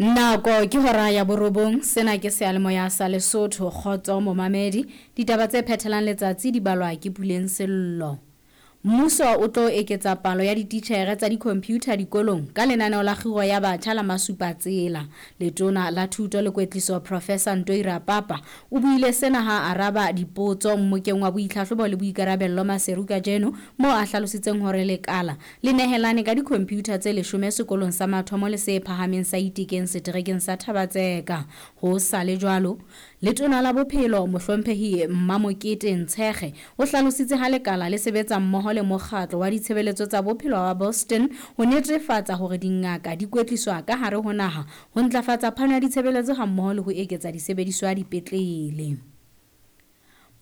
Nako ke hora ya borobong, sena ke seyalemoya sa Lesotho, kgotso momamedi. Ditaba tse phethelang letsatsi di balwa ke Puleng Sello. Mmuso o tlo eketsa palo ya dititjhere tsa dikhompyutha dikolong ka lenaneo la kgiro ya batjha la Masupatsela. Letona la Thuto le Kwetliso Professor Ntoi Rapapa o buile sena ha a araba dipotso mmokeng wa boitlhahlobo le boikarabello Maseru kajeno moo a hlalositseng hore lekala le nehelane ka dikhompyutha tse leshome sekolong sa mathomo le se phahameng sa Itekeng seterekeng sa Thaba-Tseka. Ho sa le jwalo, Letona la Bophelo, Mohlomphehi Mmamokete Ntshekge, o hlalositse ha lekala le sebetsa mmoho le Mokgatlo wa Ditshebeletso tsa Bophelo wa Boston ho netefatsa hore dingaka di kwetliswa ka hare ho naha ho ntlafatsa phano ya ditshebeletso hammoho le ho eketsa disebediswa dipetlele.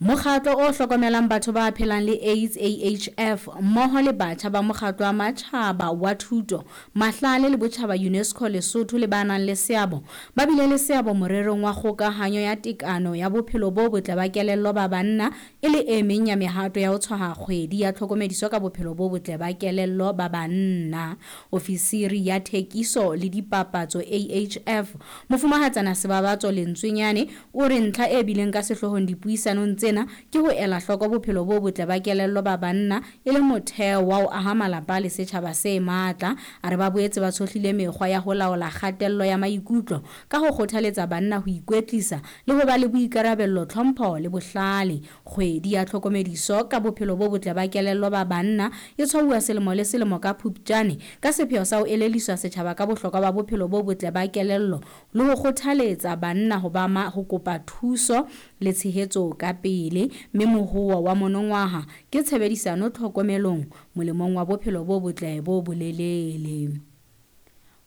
Mokgatlo o hlokomelang batho ba phelang le AIDS, AHF, mmoho le batjha ba Mokgatlo wa Matjhaba wa Thuto, Mahlale le Botjhaba, UNESCO, Lesotho le ba nang le seabo ba bile le seabo morerong wa kgokahanyo ya tekano ya bophelo bo botle ba kelello ba banna e le e meng ya mehato ya ho tshwaha kgwedi ya tlhokomediso ka bophelo bo botle ba kelello ba banna. Ofisiri ya Thekiso le Dipapatso, AHF, Mofumahatsana Sebabatso Lentswenyane o re ntlha e bileng ka sehloohong dipuisanong tsena ke ho ela hloko bophelo bo botle ba kelello ba banna e le motheo wa ho aha malapa le setjhaba se matla. A re ba boetse ba tshohlile mekgwa ya ho laola kgatello ya maikutlo ka ho kgothaletsa banna ho ikwetlisa le ho ba le boikarabello, tlhompho le bohlale. Kgwedi ya tlhokomediso ka bophelo bo botle ba kelello ba banna e tshwauwa selemo le selemo ka Phuptjane ka sepheo sa ho eleliswa setjhaba ka bohlokwa ba bophelo bo botle ba kelello le ho kgothaletsa banna ho ba ma ho kopa thuso le tshehetso ka pele, mme mohoo wa monongwaha ke tshebedisano tlhokomelong molemong wa bophelo bo botle bo bolelele.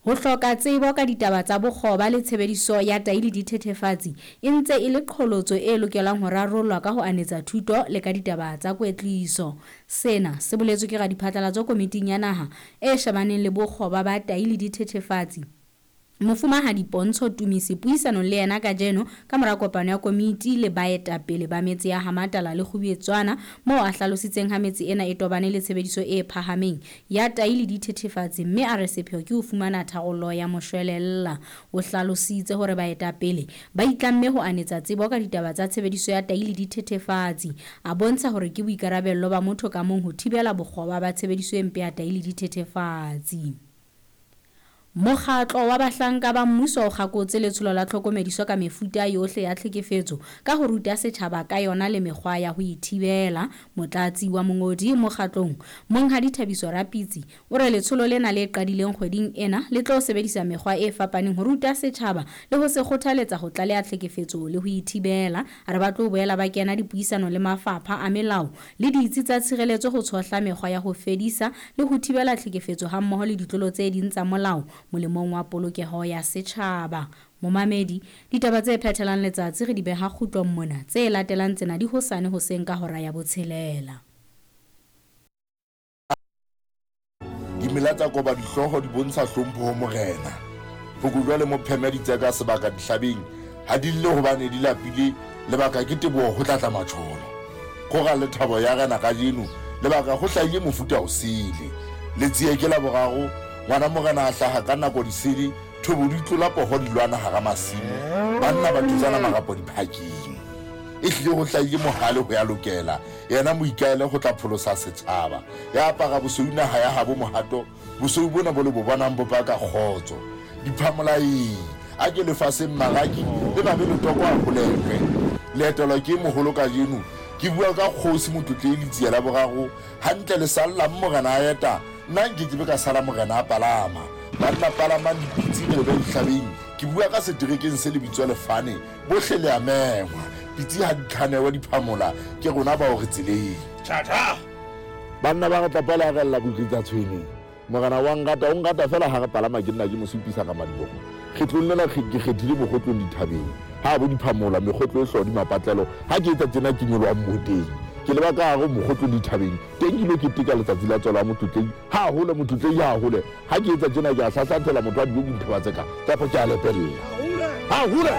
Ho hloka tsebo ka ditaba tsa bokgoba le tshebediso ya tai le dithethefatsi e ntse e le qholotso e lokelang ho rarollwa ka ho anetsa thuto le ka ditaba tsa kwetliso. Sena se boletswe ke radiphatlalatso komiting ya naha e shebaneng le bokgoba ba tai le dithethefatsi, Mofumahadi Pontsho Tumisi puisanong le yena kajeno ka mora kopano ya komiti le baetapele ba metse ya Hamatala le Kgubetswana moo a hlalositseng ha metse ena e tobane le tshebediso e phahameng ya tai le dithethefatsi mme a re sepheo ke ho fumana tharollo ya moshwelella. O hlalositse hore baetapele ba itlamme ho anetsa tsebo ka ditaba tsa tshebediso ya tai le dithethefatsi. A bontsha hore ke boikarabello ba motho ka mong ho thibela bokgoba ba tshebediso e mpe ya tai le dithethefatsi. Mokgatlo wa bahlanka ba mmuso o kgakotse letsholo la tlhokomediso ka mefuta yohle ya tlhekefetso ka ho ruta setjhaba ka yona le mekgwa ya ho e thibela. Motlatsi wa mongodi mokgatlong, Monghadi Thabiso Rapitsi, o re letsholo lena le qadileng kgweding ena le tlo sebedisa mekgwa e fapaneng ho ruta setjhaba le ho se kgothaletsa ho tlaleha tlhekefetso le ho e thibela. A re ba tlo boela ba kena dipuisano le mafapha a melao le ditsi tsa tshireletso ho tshohla mekgwa ya ho fedisa le ho thibela tlhekefetso hammoho le ditlolo tse ding tsa molao molemong wa polokeho ya setjhaba. Momamedi, ditaba tse phethelang letsatsi re di beha kgutlong mona, tse latelang tsena di hosane hoseng ka hora ya botshelela. Dimela tsa koba dihlooho di bontsha hlompho ho morena. Phokojwa le mopheme di tseka sebaka dihlabeng, ha di lle hobane di lapile, lebaka ke teboho ho tla tla matjholo. Kgora le thabo ya rena kajeno, lebaka ho hlahile mofuta o sele. Letsie ke la boraro, ngwana morena a hlaha ka nako disele, thobo di tlola poho di lwana hara masimo, banna ba thutsana marapo diphakeng. Ehlile ho hlahile mohale ho ya lokela, yena moikaele ho tla pholosa setjhaba. Ya apara bosweu naha ya habo mohato, Bosweu bona bo le bo bonang bo paka kgotso. Diphamolaeng, a ke lefaseng maraki le babe letoko a holehwe. Le etelwa ke moholo kajeno, ke bua ka kgosi Motlotlehi Letsie la boraro, hantle le sallang morena a eta, nna nke ke be ka sala morena a palama. Banna palamang dipitsi re lebe dihlabeng, ke bua ka seterekeng se lebitso Lefane, bohle le a mengwa. Pitsi ha di khanewe diphamola, ke rona bao re tseleng. Tjha-tjha! Banna ba re tlapa le a rella botlitsa tshwene. Morena wa nrata, o nrata fela ha re palama ke nna ke mo supisa ka madiboho. Kgetlong lena ke kgethile mokgotlong dithabeng. Ha bo diphamola, mekgotlo e hlodi mapatlelo. Ha ke etsa tjena ke nyolohang mmoteng. Ke leba ka hare ho mokgotlong dithabeng. Teng ke ilo keteka letsatsi la tswalo ya Motlotlehi. Ha hole Motlotlehi ha hole. Ha ke etsa tjena ke a hlahlathela motho a dijo ke dithaba tse ka. Kapa ke a lepella. Ha hole!